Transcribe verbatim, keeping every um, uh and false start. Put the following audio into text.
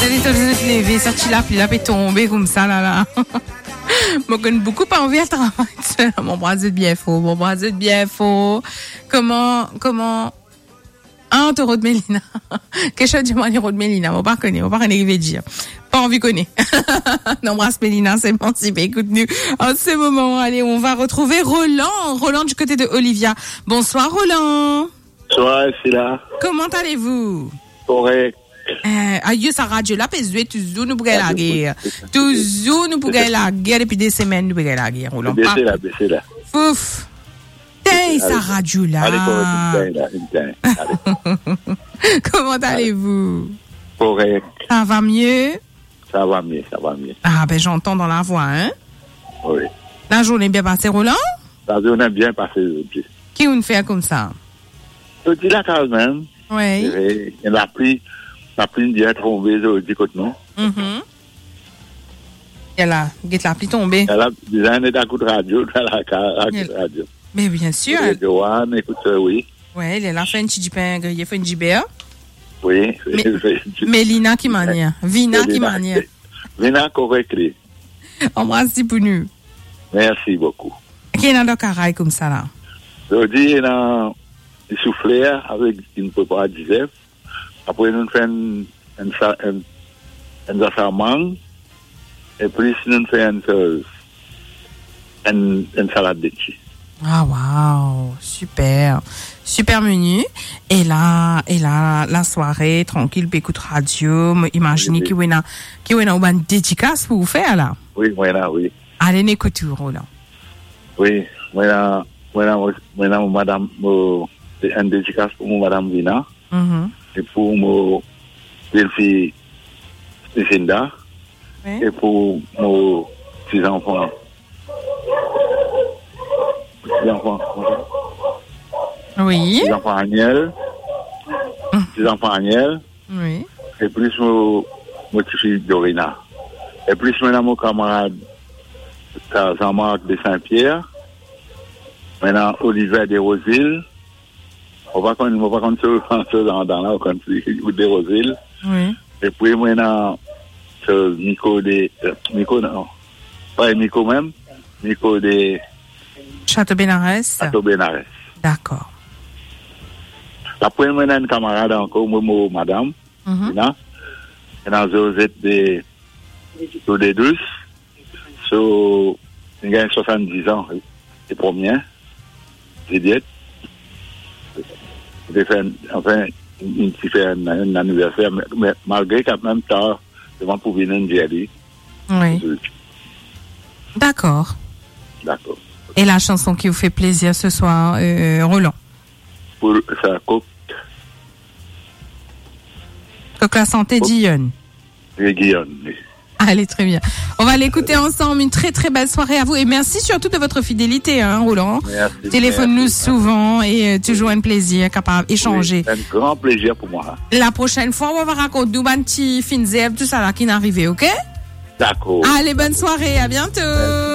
Li to zot leve, sa ti lapli la pe tonbe koumsa la la. Mo konn boukou pa anvi al travay. Mo anbras zot bien for, mo anbras zot bien for. Koman, koman? Ah, to rod Melina. Kiksoz dimann li rod Melina, mo pa kone, mo pa kone ki vedir. Pa anvi kone. Nou anbras Melina, si li pe ekout nou an se moman. Allez, on va retrouver Roland. Roland du côté de Olivia. Bonsoir, Roland. Bonsoir, Sila. Comment allez-vous? Korek. Eh, ayo, sa radio la pe zwe, touzour nou pou gagn lager. Touzour nou pou gagn lager, depi de semenn nou pou gagn lager, Roland. Bese la, bese la. Fouf. Tey, sa radio la. Ale, korek, inn tey la, inn tey. Ale. Comment allez-vous? Korek. Ça va mieux? Ça va mieux, ça va mieux. Ah, ben, j'entends dans la voix, hein? Oui. La journée bien passée, Roland? La journée bien passée, zordi. Ki ou'nn fer koumsa? Zordi lakaz mem. Oui. E, lapli, lapli bien tonbe zordi kot nou. Mhm. E la, get lapli tonbe. E la, bizin ena kout radio, dan lakaz, kout radio. Mais bien sûr. Radio One, écoute, euh, oui. Ouais, li la fer enn ti dipin griye, fer enn diber. Oui. Me-, Melina ki manier? Vina ki manier? Vina korek li. Anbras li pou nou. Merci beaucoup. Ki ena dan karay koumsa la? Zordi ena soufler avek enn prepa dizef. Apre nou fer enn, enn sa-, enn, enn zasar mang, e plis nou fer enn soz, enn, enn salad leti. Ah, wow, super. Super menu. E la, e la, lasware, trankil, pe ekout radio, mo imazine ki ou ena, ki ou ena ou bann dedikas pou ou fer la. Oui, mo ena, oui. Ale, nou ekout ou, Roland. Oui, mo ena, mo ena, mo ena mo madam, mo, enn dedikas pou mo madam Vina. Mhm. E pou mo belfi Lucinda. Oui. E pou mo ti zanfan. Ti zanfan, kouma sa? Oui. Ti zanfan Aniel. Mhm. Ti zanfan Aniel. Oui. E plis mo, mo tifi Dorina. E plis mo ena mo kamarad, sa, Jean-Marc de Saint-Pierre. Mo ena Oliver de Rosil. Mo pa konn, mo pa konn so, so zandan la, mo konn si ou de Rosil. Oui. E pi mo ena so Miko de, eh, Miko non. Pa Miko mem, Miko de Chateau Benares. Chateau Benares. Dakor. Apre mo ena enn kamarad ankor, mo, mo madam. Mhm. Ena, ena Josette de, de Douce. So, li gagn swasann-diz an, le premie Zilyet. Li fer, anfin, li ti fer enn, enn aniverser, me, me malgre kanmem tar, devan pou vinn dir li. Oui. Dakor. Dakor. E la chanson ki ou fer plezir se swar, euh, Roland? Pou sa, Kok. Kok Lasante, Kok. Dionne. Oui, Dionne, oui. Allez, très bien. On va l'écouter ensemble. Une très, très belle soirée à vous. Et merci surtout de votre fidélité, hein, Roland. Merci, merci. Téléphone-nous souvent et, euh, toujours un plaisir, capable échanger. Oui, un grand plaisir pour moi. La prochaine fois, on va raconter nou bann ti finn zerb, tout ça là qui n'arrive, ok? D'accord. Allez, bonne soirée, à bientôt. Merci.